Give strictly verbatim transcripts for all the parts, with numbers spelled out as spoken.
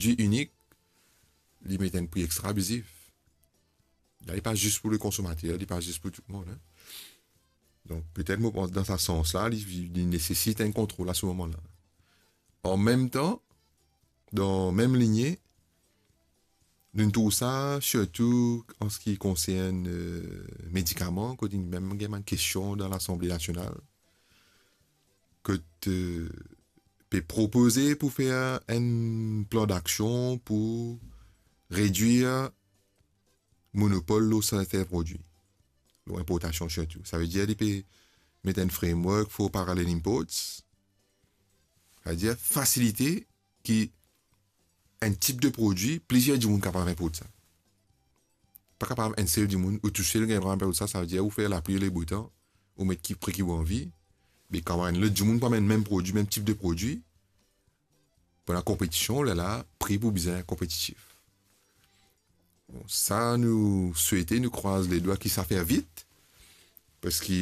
prodwi inik, li met enn pri extra abizif. La, li pa zis pou le konsomater, li pa zis pou tou lemonn, hein. Donk, petet, mo pans, dan sa sans la, li, li nesesit enn kontrol a se moman la. An mem tan, dan mem linie, nou trouv sa sirtou an se ki konsern, euh, medikaman, kot inn mem gagn bann kestion dan Lasanble Nasional, kot, euh, pe propoze pou fer enn plan daksion pou redwir monopol lor serten prodwi, lor inportasion sirtou. Savedir, li pe met enn framework for parallel imports, savedir fasilite ki enn tip de prodwi, plizier dimoun kapav inport sa. Pa kapav enn sel dimoun, ou tousel gagn drwa inport sa, savedir ou fer lapli, lebetan, ou met ki pri ki ou anvi, me kan enn lot dimoun pou amenn mem prodwi, mem tip de prodwi, pou ena konpetision, lerla pri pou bizin konpetitif. Bon, sa nou swete, nou krwaz ledwa ki sa fer vit, parski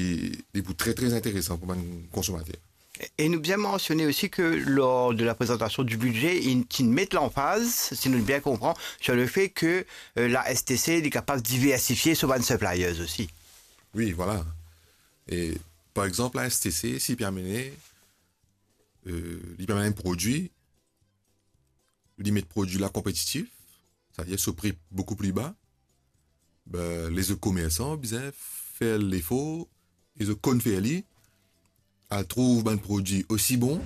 li pou tre, tre interesan pou bann konsomater. E nou bien mansione osi ke lor de la prezantasion di bidze, inn, ti inn met lanfaz, si nou bien konpran, sur le fait que, euh, la S T C, li kapav diversifie so bann suppliers osi. Wi, vwala. E, par exanp, la S T C, si li pe amenn, euh, li pe amenn enn prodwi, li met prodwi la konpetitif, savedir so pri boukou pli ba, be, lezot komersan bizin fer lefor, e zot konn fer li, al trouv bann prodwi osi bon,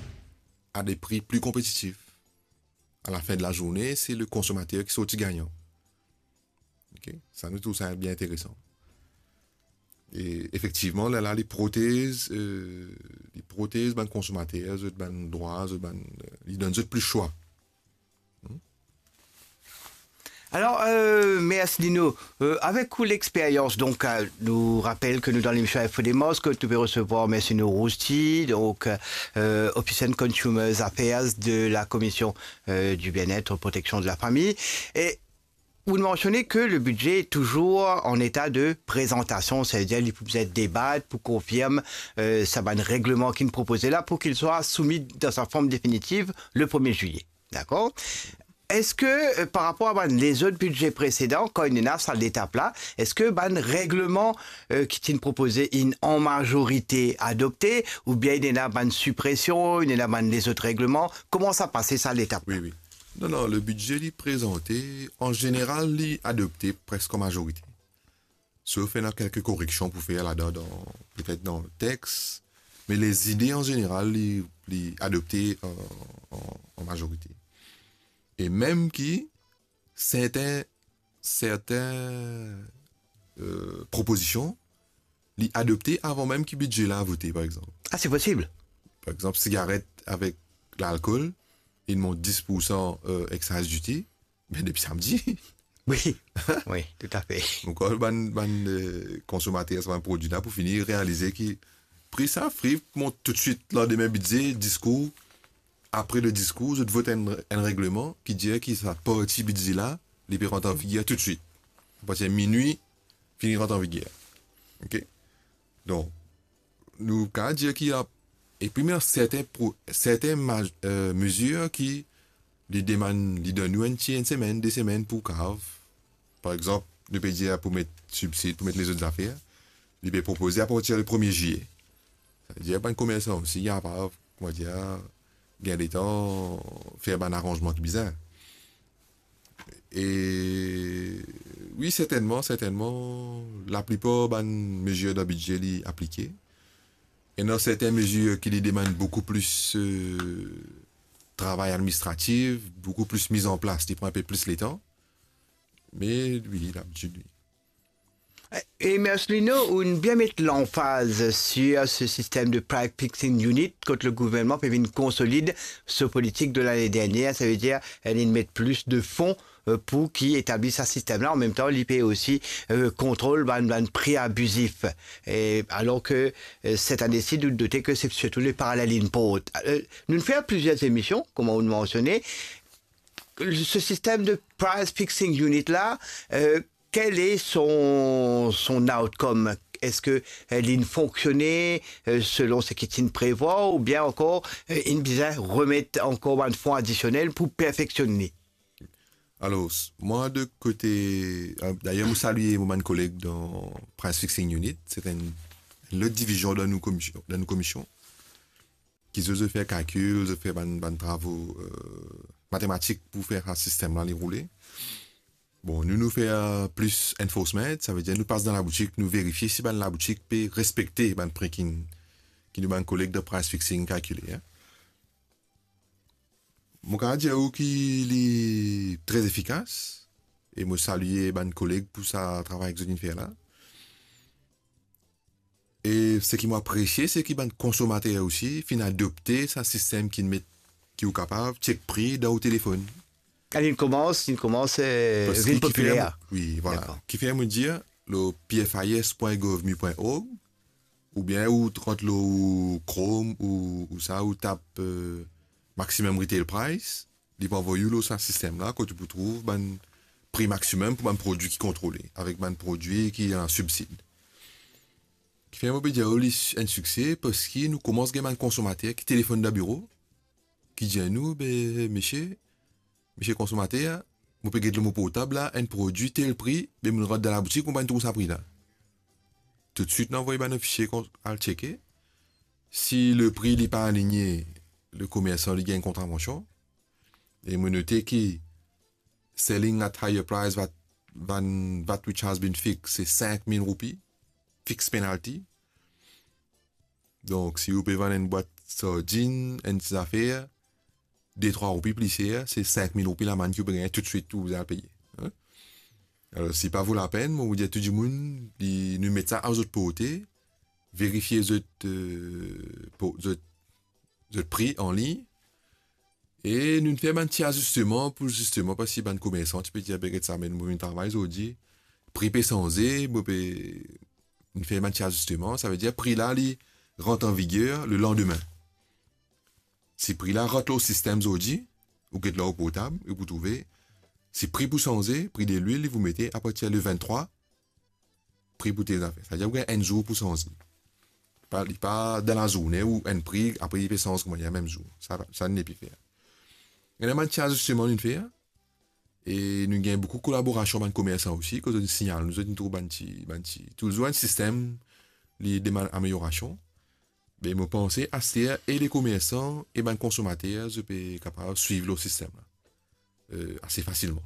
a de pri pli konpetitif. A la fin de la zourne, se le konsomater ki sorti gagnan. Ok? Sa, nou trouv sa bien interesan. E efektivman, lerla, li protez, euh, li protez bann konsomater, zot bann drwa, zot bann, euh, li donn zot plis swa. Hmm? Alor, euh, mersi Lino. Euh, avek ou lexperyans, donk, euh, nou rapel ke nou dan lemision Info Demos, kot nou pe resevwar Mercino Rousti, donk, euh, Office and Consumers Affairs de la Commission, euh, du Bien-être, Protection de la Famille. E ou mansione ke le bidze touzour an eta de prezantasion, savedir li pou bizin debat pou konfirm, euh, sa bann regleman ki inn propoze la, pou ki li swa soumi dan sa form definitiv le premie zilye. Dakor? Eski, euh, par rapor a bann lezot bidze presedan, kan inn ena sa letap la, eski bann regleman, euh, ki ti inn propoze inn an mazorite adopte, oubien inn ena bann sipresion, inn ena bann lezot regleman? Kouma sa pase sa letap la? Wi, wi. Non, non, le bidze li prezante, an zeneral, li adopte preske an mazorite. Sof ena kelke koreksion pou fer ladan, dan, petet dan text, me lezide an zeneral, li, li adopte an, an, an mazorite. E mem ki serten, serten, euh, propozision, li adopte avan mem ki bidze la vote, par exanp. Ah, se posib. Par exanp, sigaret avek lalkol, li mont dis poursan, euh, excise duty, me depi samdi. Wi, wi, toutafe. Donk, bann, bann, euh, konsomater sa bann prodwi la pou fini realize ki pri sa, pri mont toutswit, landime bidze, diskour, apre le diskour, zot vot enn, enn regleman ki dir ki sa parti bidze la, li pe rant an viger toutswit. Apartir minwi, fini rant an viger. Ok? Donk, nou kapav dir ki a, epi, me serten pro-, serten maz-, euh, mezir ki li demann, li donn nou enn ti, enn semenn, de semenn pou kapav, par exanp, nou pe dir pou met sibsid, pou met lezot zafer, li pe propoze apartir le premie zilye. Savedir bann komersan osi, kapav, koumadir, gagn letan fer bann aranzman ki bizin. E wi, sertennman, sertennman, laplipar bann mezir dan bidze li aplike. Ena serten mezir ki li demann boukou plis, euh, travay administratif, boukou plis miz an plas, li pran enpe plis letan. Me wi, labitid, wi. E Mercino, ou bien met lanfaz sur se sistem de price fixing unit kot le gouvernman pe vinn konsolid so politik de lane dernier, savedir, li met plis de fon, euh, pou ki etabli sa sistem la. An mem tan, li pe osi, euh, kontrol bann, bann pri abizif. E alor ke, euh, set ane si, nou note ke se sirtou le parallel import. Euh, nou fer plizier emision, kouma ou mansione. Se sistem de price fixing unit la, euh, kel e son, son outcome? Eski, euh, li fonksionn, euh, selon seki ti inn prevwar, oubien ankor, euh, inn bizin remet ankor bann fon adisionel pou perfeksionn li? Alor, s-, mwa de kote, euh, dayer, mo salie mo bann koleg dan Price Fixing Unit, se enn, enn lot divizion dan nou komisyon, dan nou komisyon, ki zot, zot fer kalkil, zot fer bann, bann travo, euh, matematik pou fer sa sistem la li roule. Bon, nou, nou fer, euh, plis enforcement, savedir nou pas dan laboutik, nou verifie si bann laboutik pe respekte bann pri ki, ki nou bann koleg dan Price Fixing kalkile, en. Mo kapav dir ou ki li tre efikas, e mo salie bann koleg pou sa travay ki zot inn fer la. E seki mo apresie, se ki bann konsomater osi finn adopte sa sistem ki met, ki ou kapav chek pri dan ou telefonn. Kan li koumans, li koumans, eh, Parski vinn ki fer, popiler. Wi, vwala. Dakor. Ki fer mo dir, lor P F I S point gov mu point org, oubien ou rant lor ou Chrome ou, ou sa, ou tap, euh, maximum retail price, li pou avoy ou lor sa sistem la, kot ou pou trouv bann pri maximum pou bann prodwi ki kontrole, avek bann prodwi ki ena sibsid. Ki fer mo pe dir ou li s-, enn sikse, parski nou koumans gagn bann konsomater ki telefonn dan biro, ki dir nou, "Be, misie, misie konsomater, mo pe get lor mo portab la, enn prodwi tel pri, be mo rant dan laboutik, mo pa trouv sa pri la." Toutswit, nou avoy bann ofisie kon-, al cheke. Si le pri li pa aligne, le komersan li gagn kontravansion. E mo note ki selling at higher price, vat, van-, vat which has been fixed, se sink mil roupi, fixed penalty. Donk, si ou pe vann enn bwat sardinn, enn ti zafer, de trwa roupi pli ser, se sink mil roupi lamann ki ou pe gagne toutswit, ou bizin al peye. Hein? Alor, si pa vo lapenn, mo pou dir tou dimoun, li, nou met sa a zot porte, verifie zot, euh, po-, zot, zot pri anlign, e nou fer bann ti azisteman pou zisteman, parski bann komersan ti pe dir, "Be, get sa, me mo vinn travay zordi, pri pe sanze, mo pe," nou fer bann ti azisteman, savedir pri la, li rant an viger le landime. Si pri la rant lor sistem zordi, ou get lor ou portab, ou pou trouve, si pri pou sanze, pri de lwil, li pou mete apartir le vinn-trwa, pri pou tel zafer. Savedir ou gagn enn zour pou sanze. Pa, li pa dan lazourne ou enn pri, apre li pe sanz kouma li mem zour. Sa, sa nou nepli fer. Ena bann ti azisteman nou fer, e nou gagn boukou kolaborasion bann komersan osi, kot zot signal nou, zot trouv bann ti, bann ti, touzour enn sistem, li demann ameliorasion. Me mo panse, aster, e le komersan e bann konsomater, zot pe kapav swiv lor sistem la, euh, ase fasilman.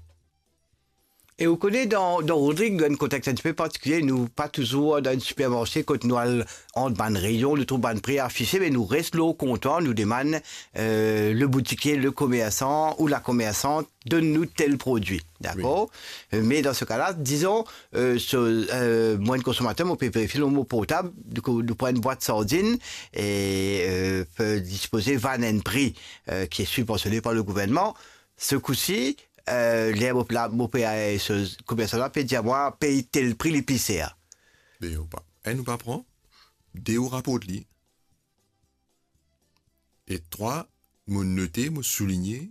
E ou kone, dan, dan Rodrig, dan enn konteks enn tipe partikilie, nou pa touzour dan enn sipermarse kot nou al ant bann reyon, nou trouv bann pri afise, me nou res lor kontwar, nou demann, euh, le boutikie, le komersan ou la komersan, donn nou tel prodwi, dakor? Wi. Euh, me dan se ka la, dizon, euh, so, euh, mwa enn konsomater, mo pe verifie lor mo portab, nou, nou pran enn bwat sardinn e, euh, pe dispoze vann enn pri, euh, ki sibvansione par le gouvernman. Se kou si, euh, ler mo pe la, mo pe, euh, so komersan la pe dir mwa, pey tel pri, li pli ser. Me ou pa, enn, ou pa pran, de, ou raport li, e trwa, mo note, mo souligne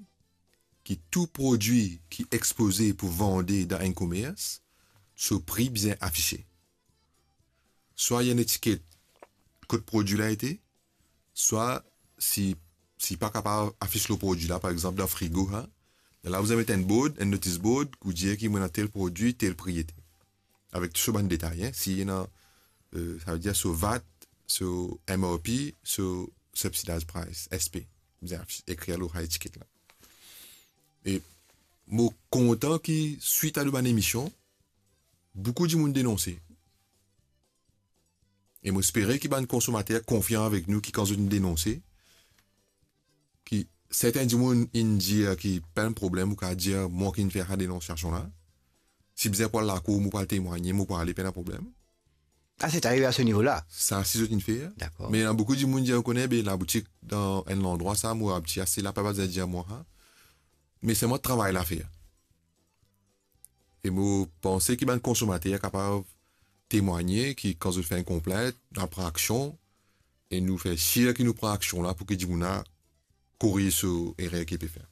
ki tou prodwi ki ekspoze pou vande dan enn komers, so pri bizin afise. Swa ena enn etiket kot prodwi la ete, swa si, si pa kapav afis lor prodwi la, par exanp, dan frigo, ha, la ou bizin met enn board, enn notice board, pou dir ki mo ena tel prodwi, tel pri ete. Avek tou so bann detay, hein, si ena, euh, savedir so vat, so M R P, so subsidized price, S P. Bizin afis, ekrir lor sa etiket la. E mo kontan ki, swit a nou bann emision, boukou dimoun denonse. E mo espere ki bann konsomater konfian avek nou, ki kan zot inn denonse, ki serten dimoun inn dir ki pena problem, ou kapav dir mwa ki inn fer sa denonsiasion la. Si bizin pou al lakour, mo pou al temwagne, mo pou ale, pena problem. Ah, se arive a se nivo la? Sa, si zot inn fer. Dakor. Me ena boukou dimoun dir, ou kone, be, laboutik dan enn landrwa sa, mo abtie ase la, pa bizin dir mwa sa. Me selman travay la fer. E mo panse ki bann konsomater kapav temwagne ki kan zot fer enn konplint, nou pran aksion, e nou fer sir ki nou pran aksion la pou ki dimoun la koriz so erer ki pe fer.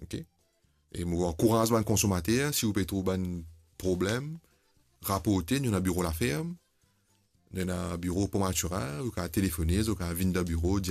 Ok? E mo ankouraz bann konsomater, si ou pe trouv bann problem, raporte, nou ena biro Laferm, nou ena biro Pont Mathurin, ou kapav telefone, ou kapav vinn dan biro, dir